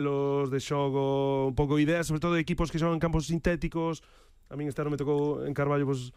los de xogo, un pouco ideas, sobre todo de equipos que xogan en campos sintéticos. A min este ano me tocou en Carballo pues,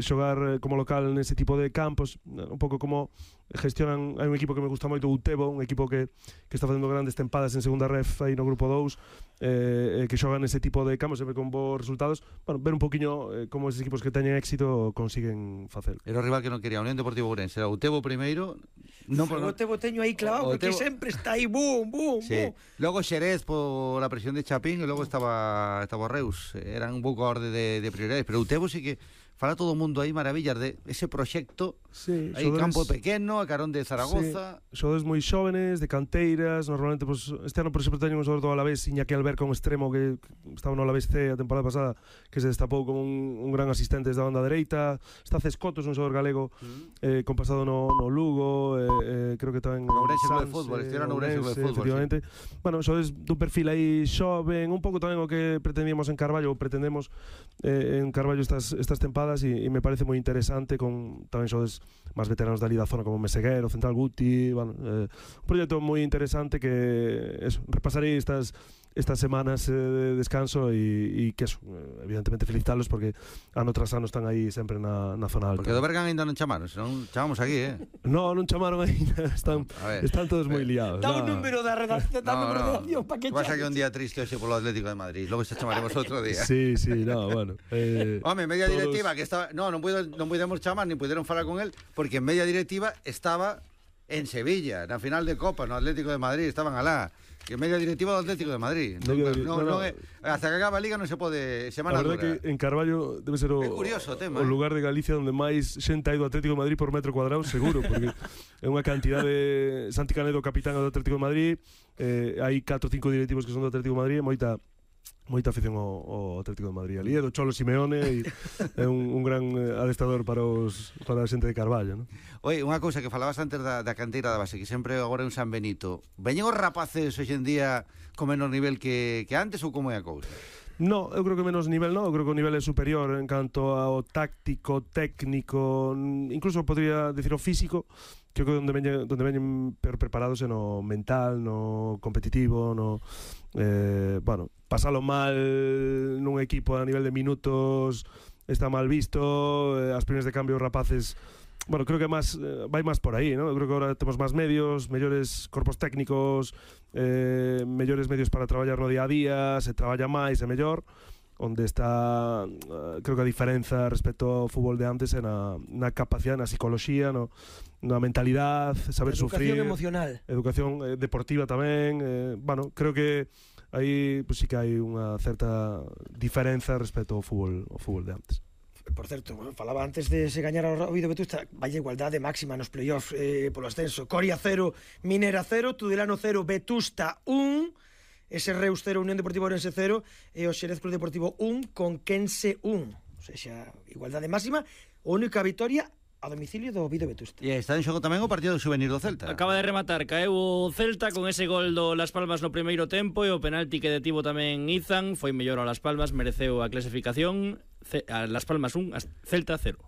xogar como local nese tipo de campos, un pouco como gestionan. Hai un equipo que me gusta moito, o Utebo, un equipo que está facendo grandes tempadas en segunda ref aí no grupo 2, que xogan nese tipo de campos sempre con bons resultados. Bueno, ver un poquinho como esos equipos que teñen éxito consiguen facer. Era o rival que non quería, Unión Deportivo Ourense. Era o Utebo primeiro. Non, o Utebo teño aí clavado, porque sempre está aí, boom, sí. boom. Logo Xerez por a presión de Chapín, e logo estaba Reus. Eran un pouco a orde de prioridades, pero o Utebo sí que fala todo o mundo aí maravillas de ese proxecto. Sí, aí campo pequeno, a carón de Zaragoza. Sí, xogadores moi xóvenes, de canteiras. Normalmente, pues, este ano, por exemplo, teño un xogador do Alavés, Iñaki Alberca, un extremo que estaba no Alavés C a temporada pasada, que se destapou como un gran asistente desde a banda dereita. Está Cescotos, un xogador galego con pasado no Lugo, creo que tamén Ourense Club de Fútbol, estiveron no Ourense Club de Fútbol, efectivamente. Sí. Bueno, xogadores dun perfil aí xoven, un pouco tamén o que pretendíamos en Carballo, ou pretendemos en Carballo estas tempadas, e me parece moi interesante, con tamén xogadores máis veteranos da Liga Zona como Meseguero, Central Guti. Bueno, un proxecto moi interesante que eso, repasarei estas semanas de descanso, e que eso, evidentemente felicitalos porque ano tras ano están aí sempre na zona alta. Porque do Bergan ainda non chamaron, senón chamamos aquí, non chamaron ainda, están todos moi liados. Dá un número da redacción, para que pasa que un día triste hoxe polo Atlético de Madrid, logo se chamaremos outro día. Sí, no, bueno. Home, media directiva que estaba, non pudemos chamar, nin puderon falar con él, porque en media directiva estaba en Sevilla, na final de Copa, no Atlético de Madrid, estaban alá. Que media directiva do Atlético de Madrid. Hasta que acaba a Liga non se pode semana dura. A verdade que en Carballo debe ser o lugar de Galicia onde máis xente hai do Atlético de Madrid por metro cuadrado, seguro, porque é unha cantidad de... Santi Canedo, capitán do Atlético de Madrid, hai 4 ou 5 directivos que son do Atlético de Madrid, moita afición ao Atlético de Madrid. Ali é do Cholo Simeone, e é un gran adestrador para a xente de Carballo, non? Oi, unha cousa que falabas antes da canteira da base, que sempre agora é un San Benito. Veñen os rapaces hoxe en día con menos nivel que antes, ou como é a cousa? No, eu creo que menos nivel non, eu creo que o nivel é superior en canto ao táctico, técnico, incluso podría decir o físico. Creo que onde veñen peor preparados é no mental, no competitivo, no bueno, pasalo mal nun equipo a nivel de minutos está mal visto, as primeras de cambio rapaces. Bueno, creo que vai máis por aí, ¿no? Eu creo que agora temos máis medios, mellores corpos técnicos, mellores medios para traballar no día a día, se traballa máis e mellor. Onde está, creo que a diferenza respecto ao fútbol de antes é na capacidade, na psicología, na mentalidade, saber sufrir. Educación emocional. Educación deportiva tamén. Bueno, creo que aí pues, sí que hai unha certa diferenza respecto ao fútbol de antes. Por certo, falaba antes de se gañar ao Oviedo Vetusta, vaya igualdade máxima nos playoffs polo ascenso. Coria 0, Minera 0, Tudelano 0, Vetusta 1, ese Reus 0, Unión Deportiva Ourense 0, e o Xerez Club Deportivo 1, Conquense 1. O sea, igualdade máxima, única vitoria a domicilio do Oviedo Vetusta. E está en xogo tamén o partido do Xuvenil do Celta. Acaba de rematar, caeu o Celta con ese gol do Las Palmas no primeiro tempo, e o penalti que detivo tamén Izan foi mellor a Las Palmas, mereceu a clasificación. A Las Palmas 1, Celta 0.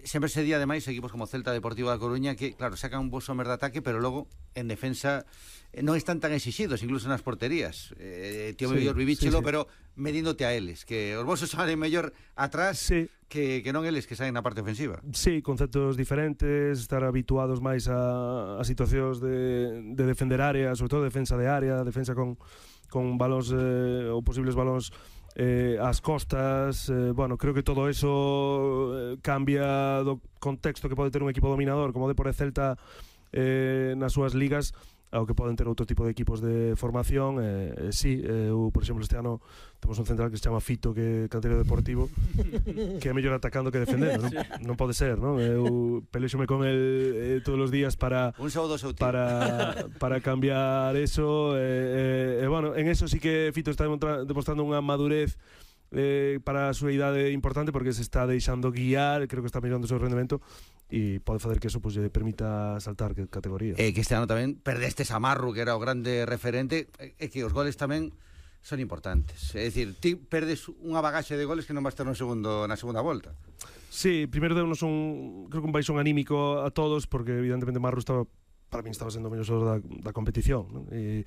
Sempre se di ademais equipos como Celta, Deportivo da Coruña, que claro, sacan un bo somer de ataque, pero logo en defensa non están tan exigidos, incluso nas porterías. Tío mellor vivíchelo, pero medíndote a eles, que os vosos salen mellor atrás que non eles que saen na parte ofensiva. Sí, conceptos diferentes, estar habituados máis a situacións de defender área, sobre todo defensa de área, defensa con balóns ou posibles balóns as costas. Bueno, creo que todo eso cambia do contexto que pode ter un equipo dominador como o Depor e Celta nas súas ligas ao que poden ter outro tipo de equipos de formación. Sí, eu, por exemplo, este ano temos un central que se chama Fito, que é canteiro deportivo, que é mellor atacando que defendendo, non pode ser, non? Eu pelexome con el todos os días para cambiar eso, bueno, en eso sí que Fito está demostrando unha madurez para a súa idade importante, porque se está deixando guiar, creo que está mellorando o seu rendemento e pode facer que eso pues, lle permita saltar categoría. Que este ano tamén perdestes a Marru, que era o grande referente, e que os goles tamén son importantes. É dicir, ti perdes unha bagaxe de goles que non vas ter na segunda volta. Sí, primeiro deunos creo que un baixón anímico a todos, porque evidentemente Marru para min estaba sendo o mellor xogador da competición, non? E